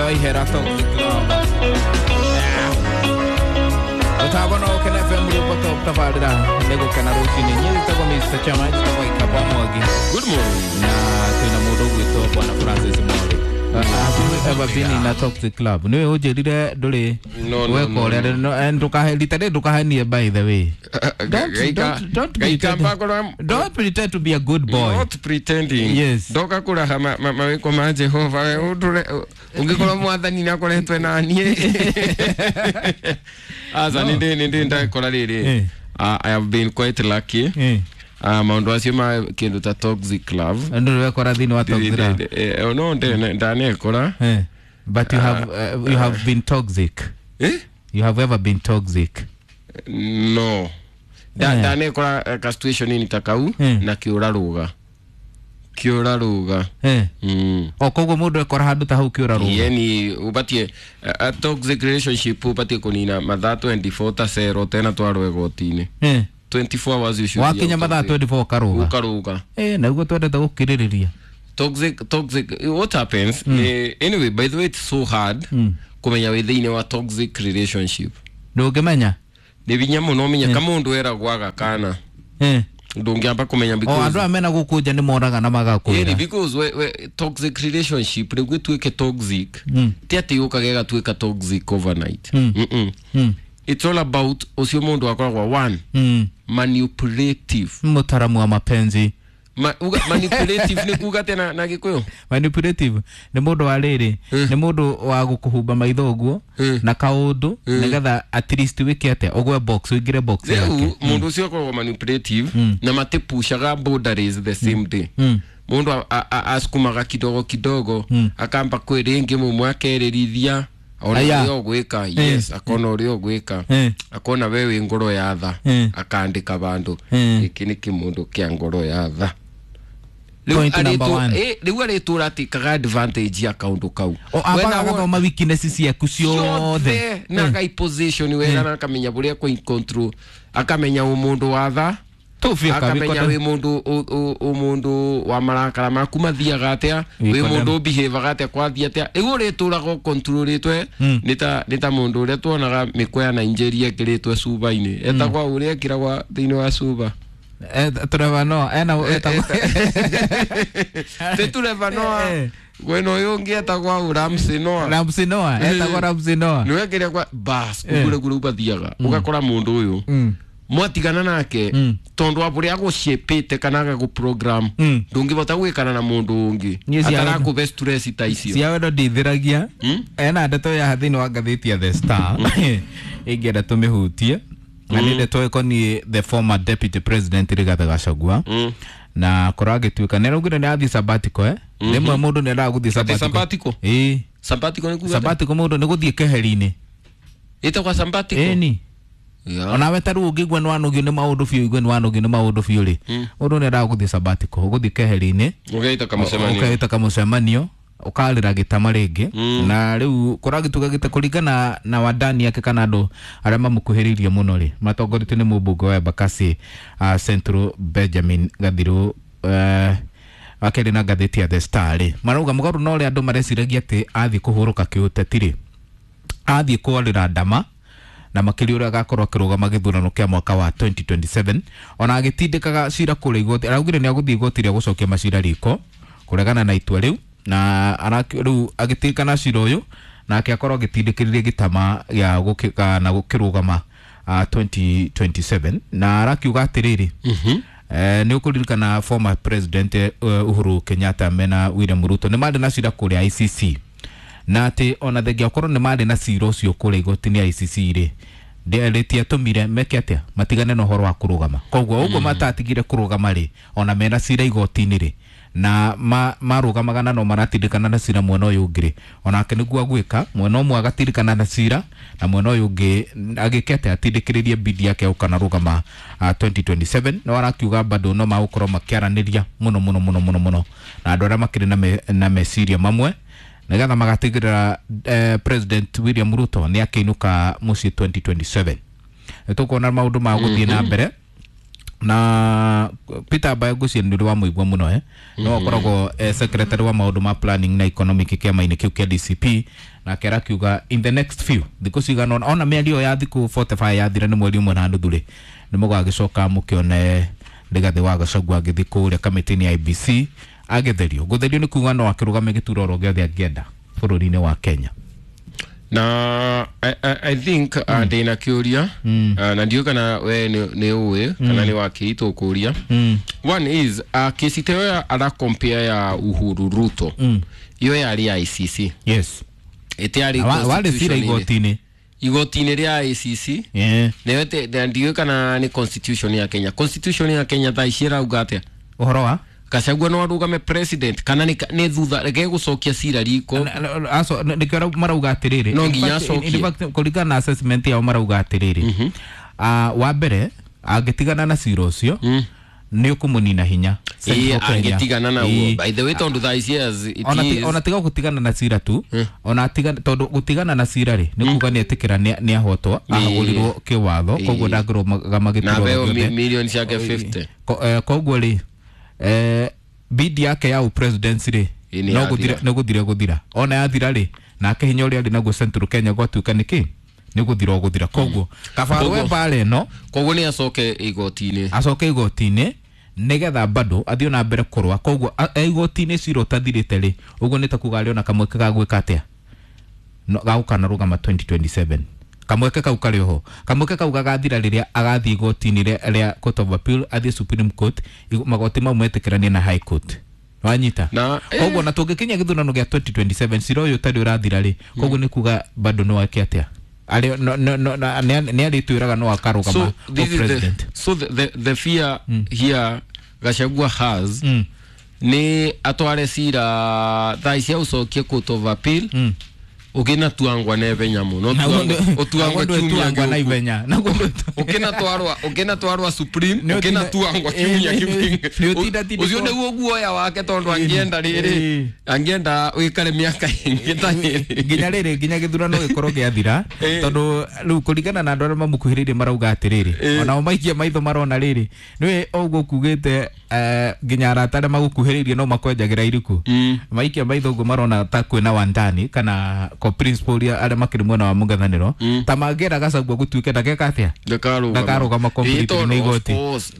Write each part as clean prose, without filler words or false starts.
wa ihera toxic love. Utabona Ukena FM rĩu tabarĩra nĩ gũkena rũcinĩ. Niĩ njĩtagwo Mr. Chama, njĩtagwo Ikaba Mwangi. Good morning. Na twĩna mũndũ ũgwĩtwo Bwana Francis Mori. Have you ever been in a toxic club? Nĩwe ũnjĩrire ndũrĩ No, no, weka no, ũrĩa rita rĩrĩ ndũkahenie by the way. Don't pretend to be a good boy. Not pretending. Yes. Ndoka kuraha mawĩko ma Jehova we ũndũre ũngĩkorwo mwathani nĩ akoretwe na niĩ. Aca nĩ ndĩ ndakora rĩrĩ. I have been quite lucky. Maũndũ acio ma kĩndũ ta toxic love. Ndũrĩ wekora thĩinĩ wa toxic love. No ndanekora. But you have been toxic. Eh? You have ever been toxic? No. Ndanekora ka situation ni ta kau na kĩũra rũga. Kĩũra rũga. O koguo mũndũ ekora handũ ta hau kĩũra rũga. Yani ubatie a toxic relationship ubatie kunina mathaa 24 ta cero tena twarwo igoti-inĩ. 24 hours you should be Wakinya out of mathaa it. 24 ũkarũga. Ũkarũga. Naguo twendete gũkirĩrĩria. Toxic what happens anyway, by the way, it's so hard kumenya wĩ thĩinĩ wa toxic relationship. Ndũngĩmenya. Nĩ hinya mũno ũmenye ka mũndũ eragwo aga kana. Ndũngĩamba kũmenya O because andũ aya mena gũkũ nja nĩ moraga na Ĩni, magakwĩra. because we toxic relationship rĩu ĩtuĩke toxic ti atĩ yũkaga ĩgatuĩka toxic overnight. It's all about ũcio mũndũ akoragwo one manipulative. Mũtaramu wa mapenzi. Manipulative nĩ kuga atĩa na Gĩkũyũ? Manipulative nĩ mũndũ wa rĩrĩ, nĩ mũndũ wa gũkũhumba maitho ũguo na kaũndũ nĩgetha at least wĩke atĩa, ũgwe box, ũingĩre box yake. Rĩu mũndũ ũcio akoragwo manipulative na matipushaga boundaries the same day. Mũndũ asukumaga kidogo kidogo, akamba kwĩ rĩngĩ mũmwe akerĩrithia ona Aya. ũrĩa ũgwĩka. Yes, akona ũrĩa ũgwĩka, akona we wĩ ngoro ya tha, akandĩka vandũ gĩkĩ nĩ kĩmũndũ kĩa ngoro ya tha. Point number one. Rĩu arĩtũra atĩkaga advantage ya kaũndũ kau. O ambaga agathoma weaknesses ciaku ciothe. Na akai position wega na akamenya bũrĩa kũ control, akamenya ũmũndũ wa tha, Tũbia akamenya wĩ mũndũ ũmũndũ wa marakara maku mathiaga atĩa, wĩ Wĩkondem. mũndũ ũbehavaga atĩa, kwathiĩ atĩa. Rĩu ũrĩtũraga ũkontrolĩtwe nĩ ta mũndũ ũrĩa tuonaga mĩkwa ya Nigeria ĩkĩrĩtwe cuba-inĩ, etagwa ũrĩa ĩkĩragwa thĩinĩ wa cuba. Trevor Noah ena etagwo Ti Trevor Noah, kwĩna ũyũ ũngĩ etagwa Ramsey Noah. Ramsey Noah, etagwo Ramsey Noah. Nĩwe kĩrĩa kwa bas ũguo kũrĩa ũbathiaga ũgakora mũndũ ũyũ mwatigana nake tondũ wa bũrĩa agũciĩpĩte kana agagũ-program, ndũngĩbota gwĩkana na mũndũ ũngĩ Niĩ atarakũbe stress ta icio. Cia wendo ndithiragia. Ena ndeto ya thĩinĩ wa ngathĩti ya The Star ĩngĩenda tũmĩhutie, na nĩ ndeto ĩkoniĩ the former deputy president Rigathi Gachagua, na korwo agĩtuĩka nĩ araugire nĩ athiĩ sabbatical. Rĩmwe mũndũ nĩ endaga gũthiĩ sabbatical. Sabbatical? Ĩĩ. Sabbatical nĩ kuga atĩa? Sabbatical mũndũ nĩ gũthiĩ keheri-inĩ. Ĩtagwa sabbatical? Ĩni. Onawe ta rĩu ũngĩigua nĩ wanogio nĩ maũndũ biũ, igue nĩ wanogio nĩ maũndũ biũ rĩ, mũndũ nĩ endaga gũthiĩ sabbatical, gũthiĩ keheri-inĩ. Ũgeita kamũcemanio. Ũkeita kamũcemanio, ũkarĩra gĩtama rĩngĩ. Na rĩu kũragĩtuĩka gĩta kũringana na wandani yake kana andũ arĩa mamũkuhĩrĩirie mũno rĩ, matongoretio nĩ mũmbunge wa Embakasi Central Benjamin Gathiru, wakerĩ na ngathĩti ya The Star rĩ, marauga mũgarũ na ũrĩa andũ mareciragia atĩ athiĩ kũhurũka kĩũteti rĩ, athiĩ kwarĩra ndama na makĩria ũrĩa agakorwo akĩrũgama gĩthurano kĩa mwaka wa 2027. Ona agĩtindĩkaga cira kũrĩa igoti, araugire nĩ agũthiĩ igoti rĩa gũcokia macira riko kũregana na itua rĩu, na rĩu agĩtindĩkana cira ũyũ nake akorwo agĩtindĩkĩrĩria gĩtama gĩa na gũkĩrũgama 2027. Na arakiuga atĩrĩrĩ, nĩ ũkũririkana former president Uhuru Kenyatta mena William Ruto nĩ marĩ na cira kũrĩa ICC, na atĩ ona thengia okorwo nĩ marĩ na cira ũcio kũrĩa igoti-inĩ ICC rĩ, rĩtiatũmire meke atĩa, matigane na ũhoro wa kũrũgama. Koguo ũguo matatigire kũrũgama rĩ, ona mena cira igoti-inĩ rĩ, na marũgamaga na no maratindĩkana na cira mwena ũyũ ũngĩ rĩ, onake nĩguo agwĩka mwena ũmwe agatindĩkana na cira na mwena ũyũ ũngĩ agĩke atĩa, atindĩkĩrĩrie bidi yake gũka rũgama 2027. No arakiuga bado no magũkorwo makĩaranĩria mũno mũno mũno mũno mũno na andũ arĩa makĩrĩ na meciria mamwe nĩgetha magatigĩrĩra President William Ruto nĩ akĩinũka mũciĩ 2027. Nĩ tũkuona maũndũ ma gũthiĩ na mbere. Na Peter Mbae ngwĩciria nĩ ũrĩ wa mũigua mũno no akoragwo secretary wa maũndũ ma planning na economic kĩama-inĩ kĩu kĩa DCP, nake arakiuga in the next few thikũ cigana ona mĩario ya thikũ 45 yathira nĩ mweri ũmwe na nuthu rĩ, nĩ mũgagĩcoka mũkĩone Rigathĩ wa Gachagua agĩthiĩ kũrĩa kamĩtĩ-inĩ ya IEBC agĩtherio. Gũtherio nĩ kuga no akĩrũgame gĩturwa oro gĩothe angĩenda bũrũri-inĩ wa Kenya. Na I think ndĩna kĩũria na ndiũĩ kana we nĩ ũĩ kana nĩ wakĩitwo kũria. One is kesi ta ĩyo ara compare ya Uhuru Ruto, iyo yarĩ ICC. Yes. Ĩtiarĩ warĩ cira igoti-inĩ, igoti-inĩ rĩa ICC. Nayo ndiũĩ kana nĩ constitution ya Kenya. Constitution ya Kenya thaa ici ĩrauga atĩa ũhoro wa Gachagua no arũgame president kana nĩ thutha reke gũcokia cira riko? Nĩkĩo marauga atĩrĩrĩ, no nginya acokie. Kũringana na assessment yao marauga atĩrĩrĩ, wa mbere angĩtigana na cira ũcio nĩ ũkũmũnina hinya. Angĩtigana naguo, by the way, tondũ thaa ici ona tiga gũtigana na cira tu, ona tiga tondũ gũtigana na cira rĩ nĩ kuga nĩ etĩkĩra nĩ ahotwo, ahagũrirwo kĩwatho, koguo ndangĩrũgama gĩturwa gĩothe milioni ciake 50. Koguo rĩ bid yake ya presidency rĩ no guthira, no guthira guthira ona yathira rĩ, nake hinya ũrĩa arĩ naguo Central Kenya gwatuĩka nĩkĩ nĩ guthira guthira. Koguo kaba we mbara ĩno, koguo nĩ acoke igoti-inĩ, acoke igoti-inĩ nĩgetha bado athiĩ na mbere kũrũa. Koguo igoti-inĩ cira ũtathirĩte rĩ, ũguo nĩ ta kuga arĩ ona kamweke ga gwĩka atĩa, ga gũkanarũgama 2027. Kamweke kau karĩ oho, kamweke kau gagathira rĩrĩa agathiĩ igoti-inĩ rĩa Court of Appeal, athiĩ Supreme Court, magoti mau metĩkĩranie na High Court. Wanyita? Koguo na tũngĩkinya gĩthurano gĩa 2027 cira ũyũ ũtarĩ ũrathira rĩ, koguo nĩ kuga bado no ake atĩa, nĩ arĩtwĩraga no akarũgama president. So the fear here Gachagua has nĩ atware cira thaa ici aucokie Court of Appeal ukina tuangwa nebe muno utuangwa kiumia na ivenya ukina twarwa Supreme ukina tuangwa kiumia kiu ucio niguo guoya wake tondu angienda riri angienda wikare miaka ingi ta riri nginya riri nginya githurano gikorwo giathira tondu riu kuringana na andu aria mamukuhiririe marauga atiriri ona maikia maitho marona riri niwe uguo kugite nginya arata aria magukuhiririe no makwenjagira iriku maikia maitho uguo marona ta kwina wandani kana ko principal ya aria makiri mwena wa mungethaniro ta mangera Gachagua gutuike ndageka atia ndakarugama completely ni igoti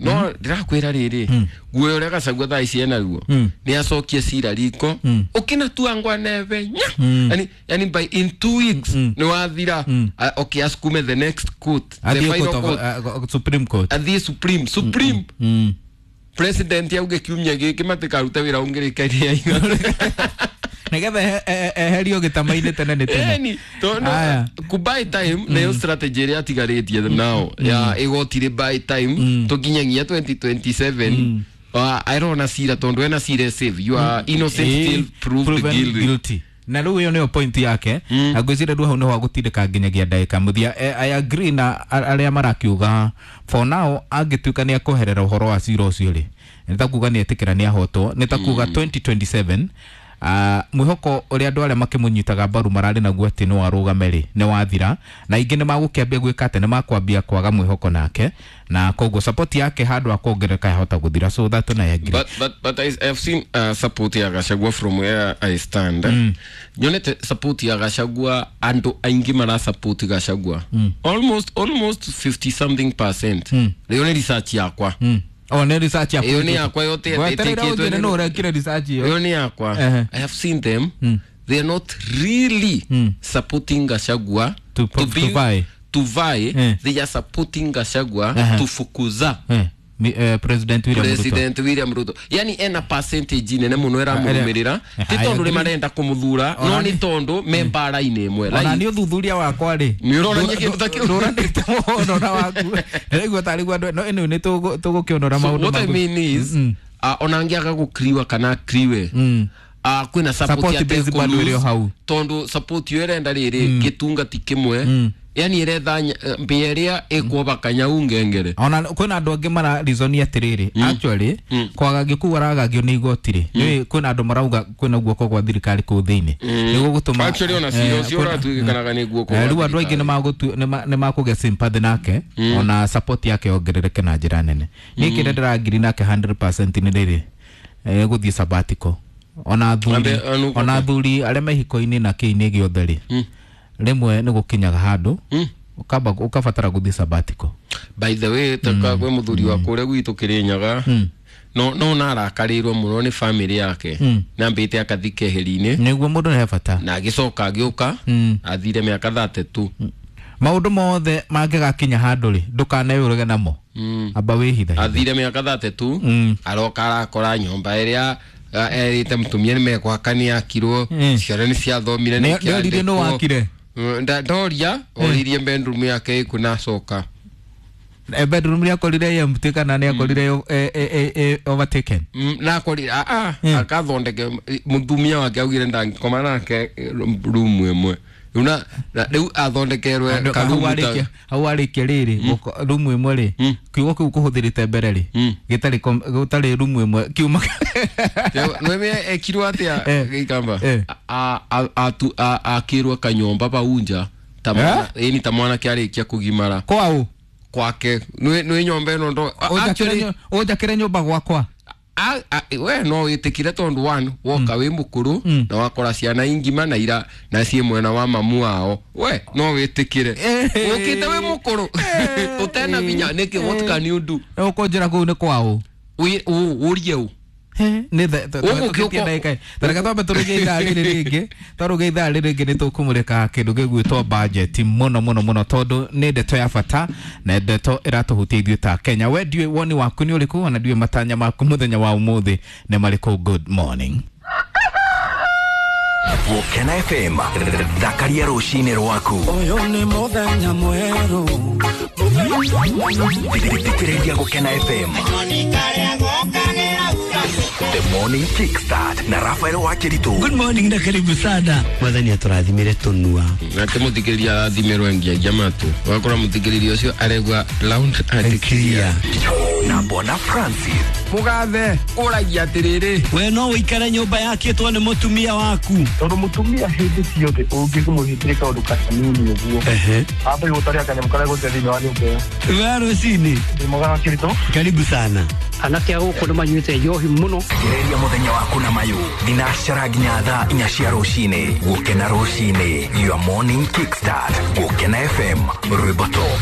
no ndirakwira riri guoya uria Gachagua thaa ici enaruo ni acokie cira riko ukina tuangwa nebe nya yani by in 2 weeks ni wathira. Okay, asukume the next court, the final court, Supreme Court, athie Supreme President yauge kiumia giki matikaruta wira ungirikaria nigetha eherio gitama-inĩ tene nĩ tene. Eni tondu ku buy time nayo strategy ĩrĩa atigarĩtie now ya igoti rĩ buy time tũkinyagia 2027 airona cira tondu ena cira save you are innocent till proved guilty. Na rĩu ĩyo nĩyo point yake na ngwĩciria rĩu hau nĩho agũtindĩka nginyagia ndagĩka mũthia. I agree na arĩa marakiuga for now angĩtuĩka nĩ akweherera ũhoro wa cira ũcio rĩ nĩ ta kuga nĩ etĩkĩra nĩ ahotwo, nĩ ta kuga 2027 mwĩhoko ũrĩa andũ arĩa makĩmũnyitaga mbaru mararĩ naguo atĩ no arũgame rĩ nĩ wathira, na ingĩ nĩ magũkĩambia gwĩka atĩ nĩ makwambia kwaga mwĩhoko nake, na koguo support yake handũ ha kuongerereka yahota gũthira. So that na I agree. But I have seen support ya Gachagua from where I stand. Nyonete support ya Gachagua andu aingi mara support Gachagua almost 50 something percent. Rĩo nĩ research yakwa. Oh, ne research yakwa. Iyo ni yakwa yote ĩtĩkĩtwo nĩ ũrekire research iyo. Iyo ni yakwa. I have seen them. They are not really supporting Gachagua to vie. They are supporting Gachagua to fukuza President William Ruto. President William Ruto. Yani ena percentage nene muno ĩramũrũmĩrĩra ti tondu nĩ marenda kũmũthura no nĩ tondu me mbara-inĩ ĩmwe. Ona nĩ ũthuthuria wakwa rĩ nĩ ũronania kĩndũ ta kĩu ndũranĩte mũno na waku ndĩraigua tarĩ guo andũ no anyway nĩ tũgũkĩonora maũndũ. What I mean is ona angĩaga gũkriwa kana akriwe Kwina support base bado ĩrĩ o hau. Tondu support yo ĩrenda rĩrĩ gĩtunga ti kĩmwe, yani ĩretha mbĩa ĩrĩa ĩkuoba kanyau ngengere. Ona kwina andũ angĩ mara reason atĩrĩrĩ, actually kwagagio kũu aragagio nĩ igoti rĩ, nĩ kwina andũ marauga kwina guoko gwa thirikari kũu thĩinĩ nĩguo gũtũma actually ona cira ũcio ũratuĩkanaga nĩ guoko gwa rĩu andũ aingĩ nĩ makũgĩa sympathy nake, ona support yake yongerereke na njĩra nene. Niĩ kĩrĩa ndĩrangiri nake 100% nĩ rĩrĩ gũthiĩ sabbatical. Ona athuri arĩa me hiko-inĩ na kĩinĩ gĩothe rĩ, rĩmwe nĩ gũkinyaga handũ ũkabatara gũthiĩ sabbatical. By the way, taka kwĩ mũthuri wa kũrĩa gwitũ Kĩrĩnyaga, no narakarĩirwo mũno nĩ family yake, na mbĩte akathi keheri-inĩ nĩguo mũndũ nĩ bata, na agĩcoka agĩũka athire mĩaka 32. Maũndũ mothe mangĩgakinya handũ rĩ, ndũkaneyũrage namo, amba wĩhithe. Athire mĩaka 32, aroka arakora nyũmba ĩrĩa erĩte mũtumia nĩ mekwaka nĩ yakirwo, ciana nĩ ciathomire, nĩ nĩ wakire ndoria oririe bedroom yake ĩkũ na acoka bedroom yakorire empty kana nĩ akorire overtaken na akorire akathondeke mũtumia wake augire ndangĩkoma nake room ĩmwe una rĩu athondekerwe karumu ta hau arĩkia rĩrĩ rumu ĩmwe rĩ, kiugo kĩu kũhũthĩrĩte mbere rĩ, gĩtarĩ gũtarĩ rumu ĩmwe kiuma nweme ekirwo atĩa gĩikamba akĩrwo kanyũmba bau nja ta ĩni ta mwanake arĩkia kũgimara kwao kwake nĩ nyũmba ĩno ndo ũnjakĩre nyũmba gwakwa. We no wĩtĩkire tondũ one woka wĩ mũkũrũ na wakora ciana ingima na ira na ciĩ mwena wa mamu wao, we no wĩtĩkire ũkĩte wĩ mũkũrũ ũtena binya nĩkĩ, what can you do? Ũkũnjĩra kũu nĩ kwao ũrie ũ tareke twambe tũrũge ithaa rĩrĩ rĩngĩ, twarũge ithaa rĩrĩ rĩngĩ nĩ tũkũmũrĩka kĩndũ gĩgwĩtwo budget mũno mũno mũno, tondũ nĩ ndeto ya bata na ndeto ĩratũhutia ithuĩ ta Kenya. We ndiũĩ woni waku nĩ ũrĩkũ, ona ndiũĩ matanya maku mũthenya wa ũmũthĩ nĩ marĩkũ. Good morning. Gũkena FM, thakaria rũcinĩ rwaku. Ũyũ nĩ mũthenya mwerũ. Thikĩrĩria Gũkena FM. The Morning Kickstart na Rafael Wakiritu. Good morning na karibu sana. Mwathani atũrathimire tũnua. Nake mũthikĩrĩria arathimirwo ngiagia matũ. Wakora mũthikĩrĩria ũcio aregwa loud and clear. Na Bwana Francis. Mũgathe ũragia atĩrĩrĩ, we no ũikare nyũmba yakĩtwo nĩ mũtumia waku. Tondũ mũtumia hĩndĩ ciothe ũngĩmũhĩtĩria kaũndũ kanini ũguo, amba gũtaria kanyamũ karĩa gũte thĩinĩ wa nyũmba ĩyo. We rũcinĩ. Ndĩ mwega Wakiritu. Karibu sana. Anake a gũkũ nĩ manyuĩte njohi mũno. Gereria mũthenya waku na mayũ thinacara nginya thaa 4 cia rũcinĩ. Gũkena rũcinĩ, your morning kickstart. Gũkena FM, rwĩmbo top.